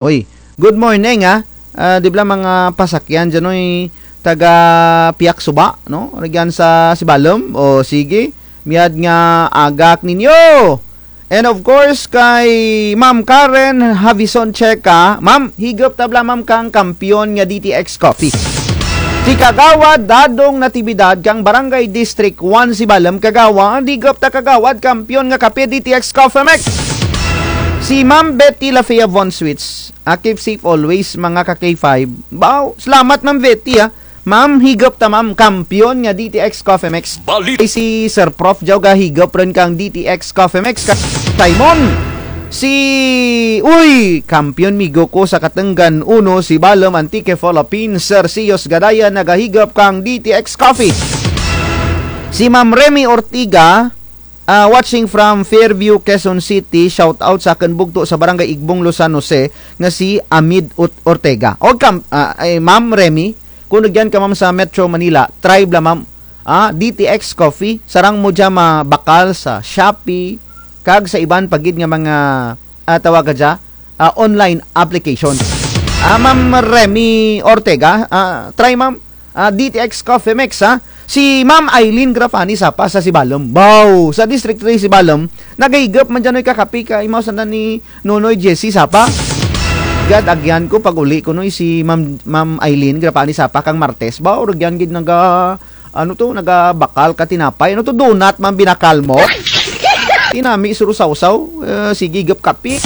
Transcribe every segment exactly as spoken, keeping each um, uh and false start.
Uy, good morning, ah. Ah, di bala mga pasakyan dyan, uy, taga Piak Suba, no? Rugyan sa Sibalom. O, sige. Mayad nga aga kaninyo. And of course, kay Ma'am Karen Havison Checa. Ma'am, higop ta bala, ma'am, kang kampiyon nga D T X Coffee. Si Kagawad Dadong Natividad kang Barangay District one Sibalom, Kagawad, higop ta, Kagawad, kampiyon nga kape, D T X Coffee Mix. Si Ma'am Betty Lafia Von Sweets. Ah, keep safe always, mga ka K five. Baw, salamat, Ma'am Betty, ah. Ma'am, higop ta, ma'am, kampiyon nga D T X Coffee Mix. Balit. Ay, si Sir Prof Jao gahigop run kang D T X Coffee Mix. Ka Simon. Si, uy, kampiyon migo ko sa Katenggan uno, Sibalom, Antique, Philippines, Sir Sios Gadaya, nagahigop kang D T X Coffee. Si Ma'am Remy Ortiga, ah, watching from Fairview, Quezon City, shout out sa akun bugto sa Barangay Igbong, San Jose, nga si Amid Ut-, Ortega. O kam-, ah, ay, Ma'am Remy, kon rugyan ka, ma'am, sa Metro Manila, try bala, ma'am. Ah, D T X Coffee, sarang mo dya mabakal sa Shopee, kag sa iban pa gid nga mga, ah, tawag ka dya, ah, online application. Ah, Ma'am Remy Ortega, ah, try, ma'am. Ah, D T X Coffee Mix, ha? Si Ma'am Eileen Grafani Sapa sa Sibalom. Baw, sa District three Sibalom, nagahigop man dyan, uy, kakape kang imaw sanda ni Nonoy Jesse Sapa. Gad, agyan ko pag-uli ko, no, si Ma'am, Ma'am Eileen Grafani Sapa kang Martes. Baw, rugyan gid naga, ano to, nagabakal ka tinapay. Ano to, donut man binakal mo? Tinami, suro sawsaw. Eh, sige, higop kape.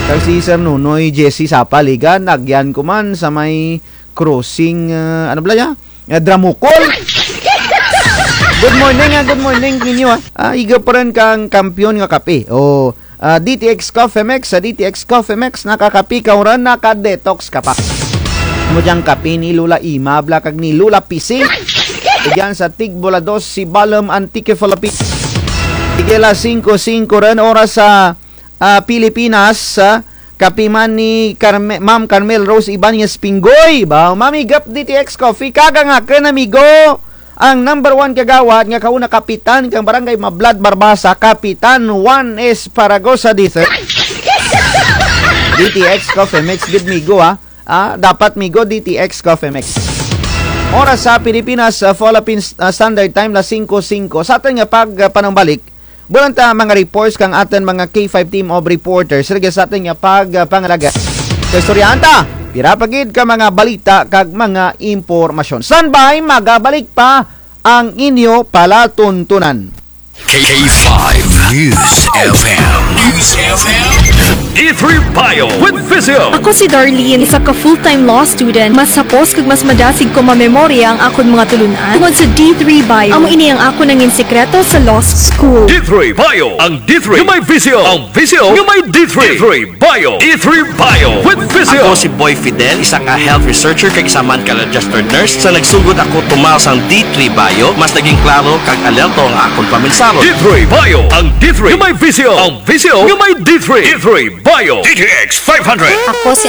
Kag si Sir Nonoy Jesse Sapa, Ligan, agyan ko man sa may crossing, ah, ano bala dya? Ah, Dramukol. Good morning, ah, good morning ninyo, ah. Ah, higop run kang kampiyon nga kape. O, ah, D T X Coffee Mix, sa D T X Coffee Mix, nakakape ka run, naka-detox ka pa. Amo dyang kape ni Lola Ima bala kag ni Lola Pisi. Dyan sa Tigbola dos, Sibalom, Antique, Philippines. Sige, alas singko singko run, oras sa ah, Pilipinas, ah, kape man ni Carme-, Ma'am Carmel Rose Ibanez Pinggoy. Baw, ma'am, higop D T X Coffee. Kag ang akun amigo, ang number one kagawad nga kauna kapitan kang Barangay Mablad, Barbaza, Kapitan Juan Esparagosa the third. D T X Coffee Mix, gid migo, ah. Ah, dapat migo, D T X Coffee Mix. Oras sa Pilipinas, ah, Philippines, ah, Standard Time, alas singko singko. Sa atun nga pag, ah, panumbalik, bulan ta mga reports kang atun mga K five team of reporters. Rugya sa atun nga pag, ah, pangalaga. Kaistoryahan ta, pira pa gid ka mga balita kag mga impormasyon. Standby, magabalik pa ang inyo palatuntunan. K five News F M. News F M. D three Bio with Visio. Ako si Darlene, isa ka full-time law student. Mas hapos kag mas madasig ko mamemorya ang akon mga tulun-an tungod sa D three Bio. Amo ini ang akon nangin sikreto sa law school. D three Bio, ang D three nga may Visio, ang Visio nga may D three. D three Bio, D three Bio with Visio. Ako si Boy Fidel, isa ka health researcher kag isa man ka registered nurse. Sa nagsugod ako tumar sang D three Bio, mas naging klaro kag alerto ang akon paminsaro. D three Bio, ang D three nga may Visio, ang Visio nga may D three. D three Bio, D T X five hundred. Ako si